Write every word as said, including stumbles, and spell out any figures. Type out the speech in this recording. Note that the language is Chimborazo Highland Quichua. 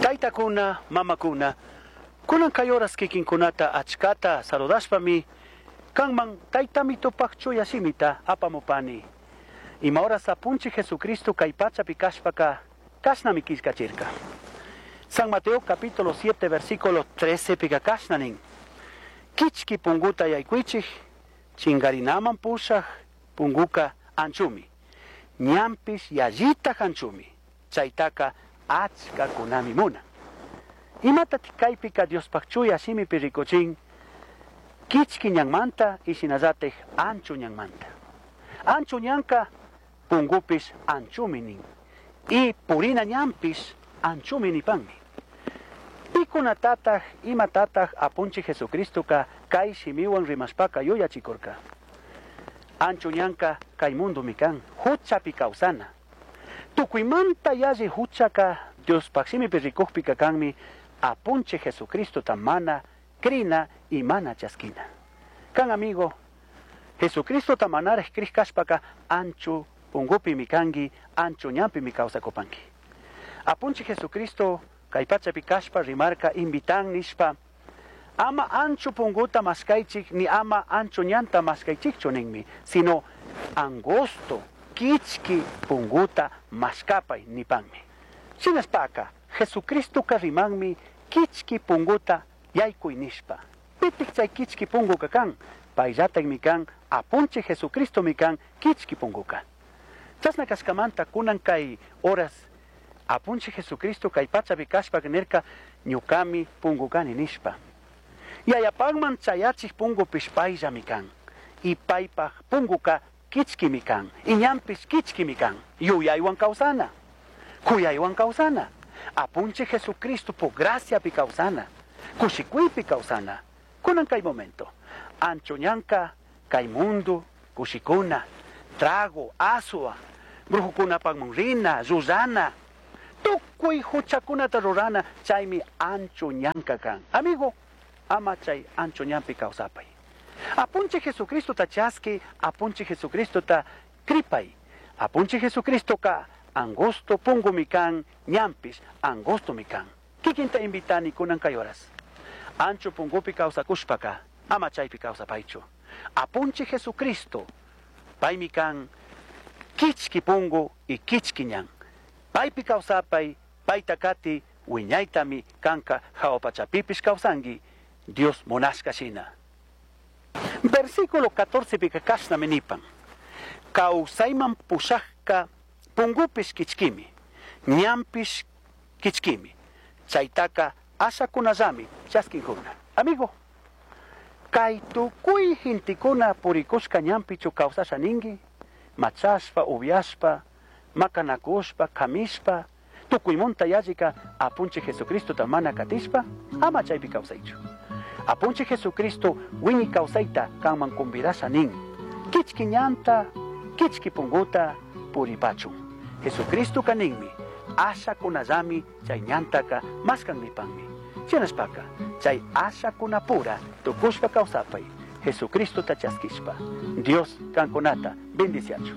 Taytakuna, mamakuna, kunan kay horas kikinkunata achkata saludashpami, kanman taytamitupaq chuya shimita apamupani. Ima horas apunchik Jesucristo kay pachapi kashpaka kashnami killkachirka. San Mateo capítulo siete versículo trece pika kashna nin. Kichki punguta yaykuichik, chingarinaman pushaj punguka anchumi. Ñanpish yallita anchumi. Chaytaka achkakunami munan. Imatatik kaypika Diospaq chuya shimipi rikuchin, kichki ñanmanta y shinallatik ancho ñanmanta. Ancho ñanka pungupish anchumi nin. Y purina ñanpish anchumi nipanmi. Pikunatataq imatataq apunchik Jesucristoka kay shimiwan rimashpaka yuyachikurka. Ancho ñanka kay mundumi kan, huchapi kawsana. Tukuymanta yalli huchaka Diospaq shimipi rikukpika kanmi apunchik Jesucristota mana krina y mana chaskina. Kan amigo, Jesucristota manaraj krij kashpaka ancho pungupimi kanki, ancho ñanpimi kawsakupanki. Apunchik Jesucristo kay pachapi kashpa rimarka invitan nishpa, ama ancho punguta maskaychik ni ama ancho ñanta maskaychikchu ninmi, sino angosto kichki punguta maskapay nipanmi. Shinashpaka Jesucristoka rimanmi kichki punguta yaykuy nishpa. Pitik chay kichki punguka kan, payllatakmi kan, apunchik Jesucristomi kan kichki punguka. Chashna kashkamanta kunan kay horas apunchik Jesucristo kay pachapi kashpa nirka ñukami pungukani nishpa. Yayapakman chayachik pungupish payllami kan. Y paypaj punguka kichkimi kan. Y ñanpish kichkimi kan. Yuyaywan kawsana. Kuyaywan kawsana. Apunchik Jesucristo po graciapi kawsana. Kushikuypi kawsana. Kunan kay momento. Ancho ñanka kay mundo kushikuna. Trago, asua, brujukunapakman rina, llullana. Tukuy huchakunata rurana, chaymi ancho ñanka kan. Amigo, ama chay ancho ñanpi kawsapay. Apunchik Jesucristo ta chaski, apunchik Jesucristo ta kripay. Apunchik Jesucristo ka angosto pungumi kan, ñanpish angostomi kan. Kikinta invitani kunan kay horas. Ancho pungupi kawsakushpaka, ama chaypi kawsapaychu. Apunchik Jesucristo, paymi kan kichki pungu y kichki ñan. Paypi kawsapay, payta kati, wiñaytami kanka jawa pachapipish kawsanki, Dios munashka shina. Versículo catorce pika kashnami nipan. Kawsayman pushajka pungupish kichkimi, ñanpish kichkimi. Chaytaka ashakunallami chaskinkuna. Amigo, kay tukuy gentekuna purikushka ñanpichu kawsasha ninki, machashpa, upiashpa, makanakushpa, kamishpa, tukuymunta yallika apunchik Jesucristota mana katishpa, ama chaypi kawsaychu. Apunchik Jesucristo wiñay kawsayta kanman convidasha nin. Kichki ñanta, kichki punguta puripachun. Jesucristo kaninmi, ashakunallami chay ñantaka maskan nipanmi. Shinashpaka, chay ashakunapura tukushpa kawsapay, Jesucristota chaskishpa. Dios kankunata bendiciachu.